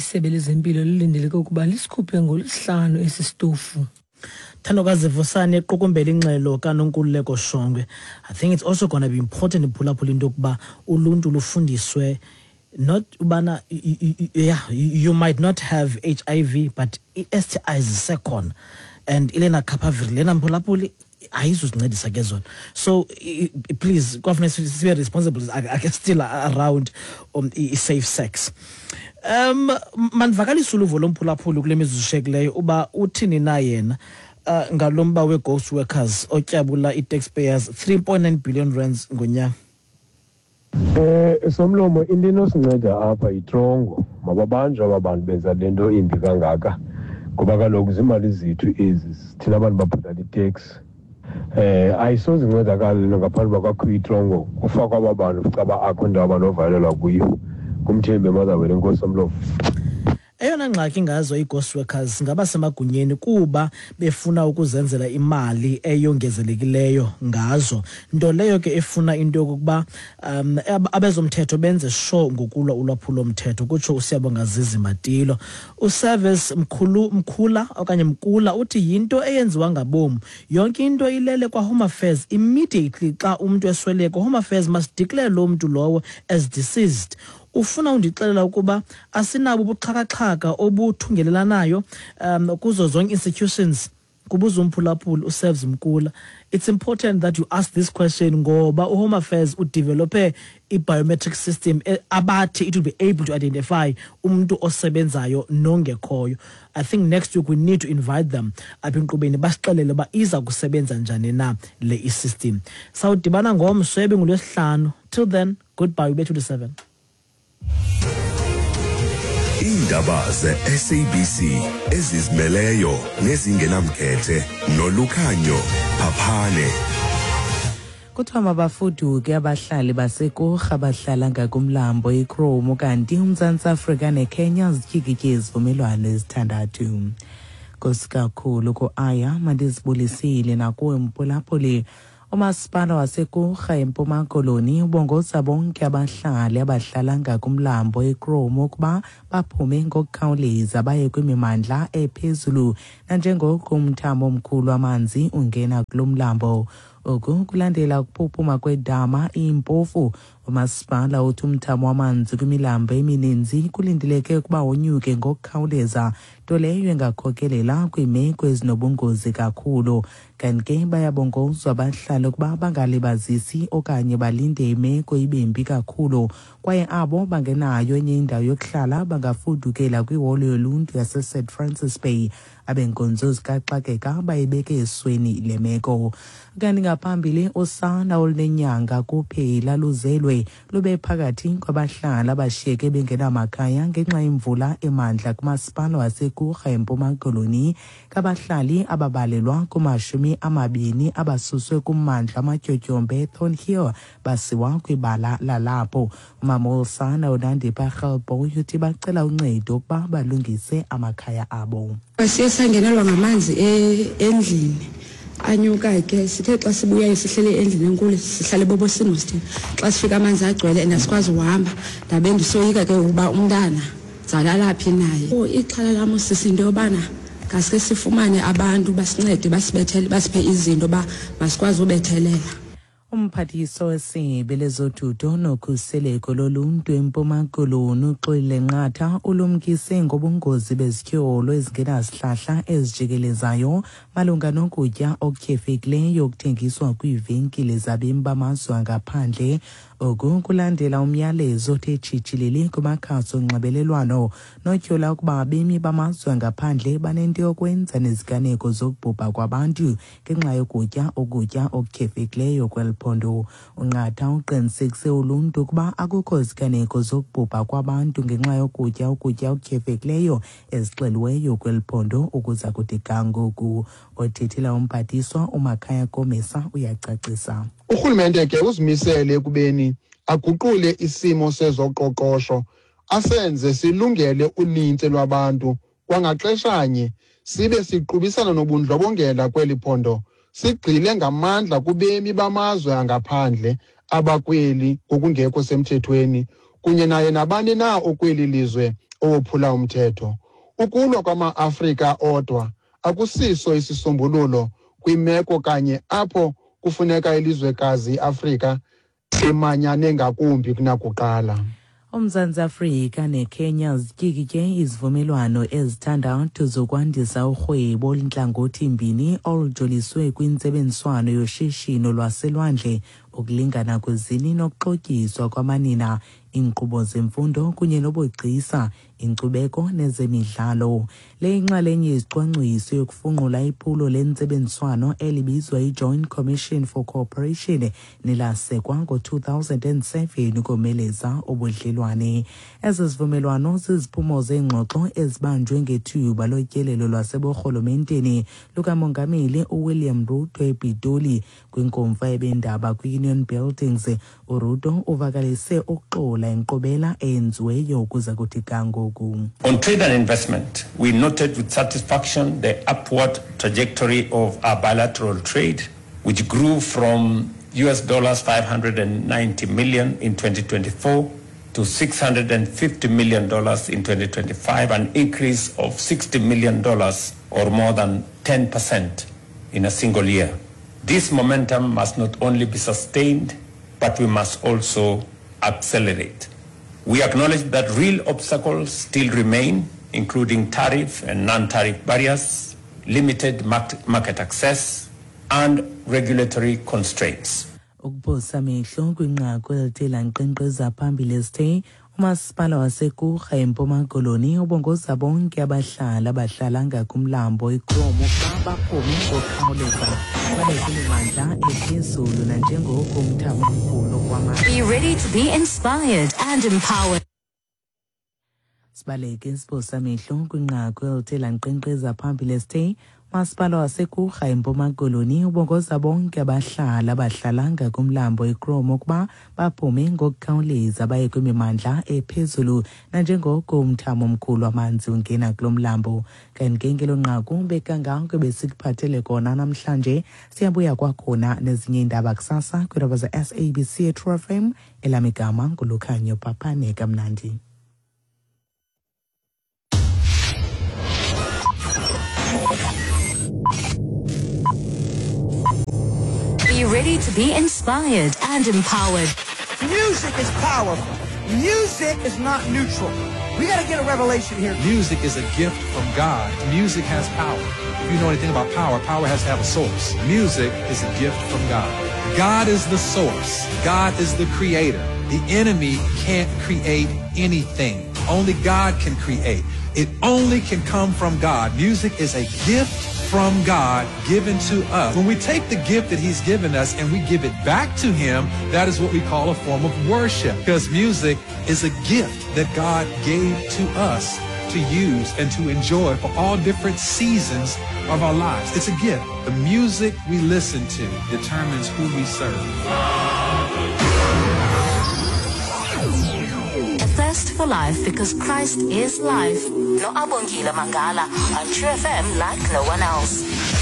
Isebe lezempilo lilindeleke ukuba lisikhuphe ngoLwesihlanu esi sitofu. Thandokazi Vusane equkumbela ingxelo kaNonkululeko Shongwe. I think it's also going to be important, iphulaphula, into yokuba uluntu lufundiswe not ubana, yeah, you might not have HIV, but i-STIs zisekhona and i-lenacapavir lena, mphulaphuli, ayizusincedisa ke zona. So please, kwafuneka sibe responsible ake still around i-safe sex. Mandivakalise uluvo lomphulaphuli kule mizuzu ishekileyo uba uthini na yena ngalo mba we-ghost workers otyabula i-taxpayers 3.9 billion rands ngonyaka. Somlomo, into enosinceda apha yitrongo. Mababanjwe aba bantu benza le nto imbi kangaka, ngoba kaloku ziimali zethu ezi, thina abantu babhatala iteksi. Ayisoze incedakala le nto ngaphandle uba kwakhiwe itrongo, kufakwa aba bantu, caba akho ndawo abanovalelwa kuyo. Ngumthembi eMotherwell, enkosi somlomo. Eyona ngxaki ngazo ii-ghost workers ngabasemagunyeni, kuba befuna ukuzenzela imali eyongezelekileyo ngazo, nto leyo ke efuna into yokokuba abezomthetho benze sure ngokulwa ulwaphulomthetho, kutsho uSiyabonga Zizi Matilo. Uservice Mkhulu Mkhula okanye Mkula uthi yinto eyenziwa ngabom yonke into, ilele kwa-Home Affairs. Immediately xa umntu esweleka, Home Affairs must declare loo mntu lowo as deceased. Ufuna undixelela ukuba asinabo ubuxhakaxhaka obuthungelelanayo kuzo zonke institutions? Kubuza umphulaphuli uServes Mkula. It's important that you ask this question, ngoba uHome Affairs udevelope i-biometric system abathi it will be able to identify umuntu osebenzayo nongekhoyo. I think next week we need to invite them apha enkqubeni, basixelele uba iza kusebenza njani na le i-system. Sawudibana ngomso ebengulwesihlanu. Till then, goodbye. Ubethu 7. Iindaba ze-SABC ezizimeleyo nezingenamkhethe noLukhanyo Phaphane. Kuthiwa mabafuduke abahlali baseKurha bahlala ngakumlambo iKromu, kanti uMzantsi Afrika neKenya zityikitye izivumelwano ezithandathu. Nkosi kakhulu ku-Aya, mandizibulisile nakuwe mphulaphuli. Umasipala waseKurha eMpuma Koloni ubongoza bonke abahlali abahlala ngakumlambo iKromu ukuba baphume ngokukhawuleza baye kwimimandla ephezulu, nanjengoko umthamo omkhulu wamanzi ungena kulo mlambo. Oku kulandela ukuphuphuma kwedama iMpofu. Umasipala uthi umthamo wamanzi kwimilambo emininzi kulindeleke ukuba wonyuke ngokukhawuleza, nto leyo engakhokelela kwiimeko ezinobungozi kakhulu. Kanti ke bayabongozwa abahlali ukuba bangalibazisi okanye balinde imeko ibe mbi kakhulu, kwaye abo bangenayo enye indawo yokuhlala bangafudukela kwiholo yoluntu yaseSt Francis Bay. Abenkonzo zikaxakeka bayibeke esweni le meko. Kanti ngaphambili, usana olunenyanga kuphela luzelwe lube phakathi kwabahlali abashiyeke bengenamakhaya ngenxa yemvula emandla kumasipala waseKurha eMpuma Koloni. Kabahlali ababalelwa kuma-20 abasuswe kummandla amatyotyombe eThornhill basiwa kwibala lalapho. Umama wosana uNandipha Rhelboy uthi bacela uncedo ukuba balungise amakhaya abo. Siye sangenelwa ngamanzi endlini, anyuka ke. Sithe xa sibuyayo, sihlele endlini enkulu, sihlale bobosini sithini, xa sifika amanzi agcwele and asikwazi uhamba. Ndabe ndisoyika ke ukuba umntana zalala phi naye. Oh, ixhala lam sisi into yobana ngaske sifumane abantu basincede, basibethele, basiphe izinto uba masikwazi ubethelela. Umphathiswa wesebe lezothutho nokhuseleko loluntu eMpuma Koloni uXolile Nqatha ulumkise ngobungozi bezityholo ezingenasihlahla ezijikelezayo malunga nokutya okutyhefekileyo okuthengiswa kwiivenkile zabemi bamazwe angaphandle. Oku kulandela umyalezo othe tshitshilili kumakhasi onxibelelwano notyhola ukuba abemi bamazwe angaphandle banento yokwenza neziganeko zokubhubha kwabantu ngenxa yokutya ukutya okutyhefekileyo kweli phondo. UNqatha uqinisekise uluntu ukuba akukho ziganeko zokubhubha kwabantu ngenxa yokutya ukutya okutyhefekileyo ezixeliweyo kweli phondo ukuza kuthi ga ngoku. Othethela umphathiswa uMakhaya Komisa uyacacisa. Urhulumente ke uzimisele ekubeni aguqule isimo sezoqoqosho, asenze silungele unintsi lwabantu, kwangaxeshanye sibe siqubisana nobundlobongela kweli phondo. Sigxile ngamandla kubemi bamazwe angaphandle abakweli ngokungekho semthethweni kunye naye nabani na okweli lizwe. owophula umthetho. Ukulwa kwama-Afrika odwa akusiso isisombululo kwimeko kanye apho kufuneka ilizwekazi iAfrika imanyane ngakumbi kunakuqala. UMzantsi Afrika neKenya zityikitye izivumelwano ezithandathu zokwandisa urhwebo oluntlangothi-mbini olujoliswe kwintsebenziswano yoshishino lwaselwandle, ukulingana kwezini nokuxhotyiswa kwamanina, iinkqubo zemfundo kunye nobugcisa, inkcubeko nezemidlalo. Le yinxalenye yezicwangciso yokufunqula iphulo lentsebenziswano elibizwa iJoint Commission for Cooperation nelasekwa ngo-2007 ukomeleza ubudlelwane. Ezi zivumelwano ziziphumo zeengxoxo ezibanjwe ngethuba lotyelelo lwaseburhulumenteni lukaMongameli uWilliam Ruto ePitoli. Kwinkomfa yabendaba kwi-Union Buildings, uRuto uvakalise ukuxola inkqubela eyenziweyo ukuza kuthi ga ngoku. On trade and investment, we noted with satisfaction the upward trajectory of our bilateral trade, which grew from US dollars 590 million in 2024 to $650 million in 2025, an increase of $60 million or more than 10% in a single year. This momentum must not only be sustained, but we must also accelerate. We acknowledge that real obstacles still remain, including tariff and non-tariff barriers, limited market access, and regulatory constraints. Ukuphosa amehlo kwinqaku elithe lankqenkqeza phambili esithe umasipala waseKurha eMpuma Koloni ubongoza bonke abahlali abahlala ngakumlambo iKromo ukuba baphume ngokukhawuleza babe kwimimandla ephezulu nanjengoko umthamo omkhulu kwamanzi. Be ready to be inspired and empowered. Sibaleke siphosa amehlo kwinqaku elithe lankqenkqeza phambili esithe umasipala waseKurha eMpuma Koloni ubongoza bonke abahlali abahlala ngakumlambo iKromo ukuba baphume ngokukhawuleza baye kwimimandla ephezulu nanjengoko umthamo omkhulu wamanzi ungena kulo mlambo. Kanti ke ngelo nqaku bekangako besikuphathele kona namhlanje. Siyabuya kwakhona nezinye iindaba kusasa kwiindaba ze-SABC eTrue FM. Elam igama nguLukhanyo Papane. Kamnandi. Be ready to be inspired and empowered. Music is powerful. Music is not neutral. We got to get a revelation here. Music is a gift from God. Music has power. If you know anything about power, power has to have a source. Music is a gift from God. God is the source. God is the creator. The enemy can't create anything. Only God can create. It only can come from God. Music is a gift from God given to us. When we take the gift that he's given us and we give it back to him, that is what we call a form of worship, because music is a gift that God gave to us to use and to enjoy for all different seasons of our lives. It's a gift. The music we listen to determines who we serve. A thirst for life, because Christ is life. No Abongile Mangala on True FM like no one else.